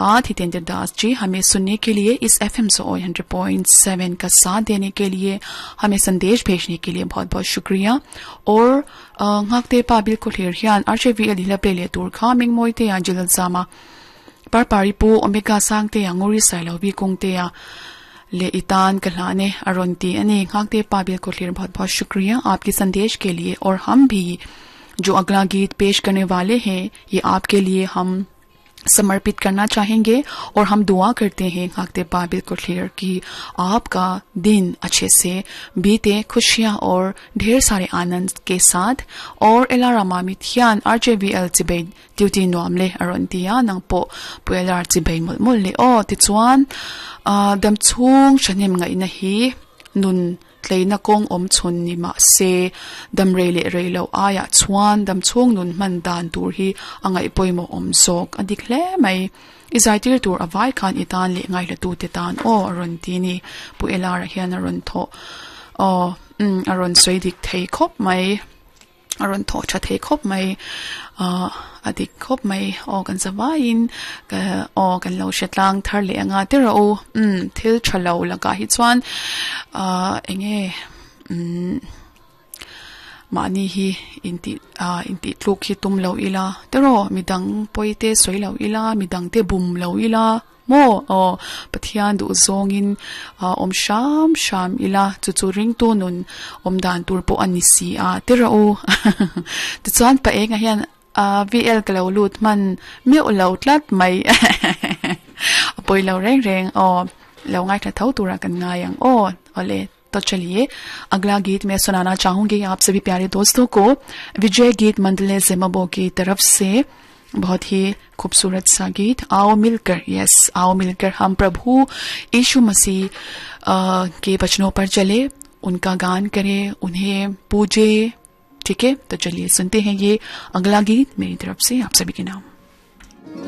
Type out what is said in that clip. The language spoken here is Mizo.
धन्यवाद हितेंद्र दास जी हमें सुनने के लिए, इस एफ एम सौ 100.7 का साथ देने के लिए, हमें संदेश भेजने के लिए बहुत बहुत शुक्रिया। और ngakte pa bilkul hir hian RJVL hila play le tur kha ming moi te ya jilal zama par pari pu omega sang te ya ngori sai lo bi kung te ya ले इतान कहलाने अरुणती ani ngakte pa bilkul hir, बहुत बहुत शुक्रिया आपके संदेश के लिए। और हम भी जो अगला गीत पेश करने वाले हैं, ये आपके लिए हम समर्पित करना चाहेंगे और हम दुआ करते हैं खाकते बाबिल कुठलियर की आपका दिन अच्छे से बीते, खुशियां और ढेर सारे आनंद के साथ। और एलारा Mamit hian RJVL chibei duty nuam le aron tia, nang po pu elar chibei mul mul le o. Ti chuan dam chung shanim ngai na hi nun tleina kong om chun ni ma se, dam rei le rei lo aya chuan dam chung nun man dan tur hi angai poimo om sok adik hle mai. Izai tir tur awai khan itan le ngai la tu te tan o aron ti ni. Pu elara hian aron tho o aron soi dik thei khop mai, aron tho cha thei khop mai, adik khop mai o. Kan zawain ka o kan lo shetlang thar le anga te ro thil thalo laka hi chuan enge mani hi inti inti tluk hi tum lo ila tero, midang poite soi lo ila, midang te bum lo ila mo o. Pathian du zongin om sham sham ila, chu chu ring tu nun om dan tur po ani si a tero. Ti chuan pa enga hian VL ka lo lut man mi lo tlat mai, apoi lo reng reng o, lo ngai tha tho tura kan ngai ang o. Ole, तो चलिए, अगला गीत मैं सुनाना चाहूंगी आप सभी प्यारे दोस्तों को, विजय गीत मंडल जिमबो की तरफ से बहुत ही खूबसूरत सा गीत, आओ मिलकर। यस, आओ मिलकर हम प्रभु यीशु मसीह के वचनों पर चले, उनका गान करें, उन्हें पूजे। ठीक है, तो चलिए सुनते हैं ये अगला गीत मेरी तरफ से आप सभी के नाम।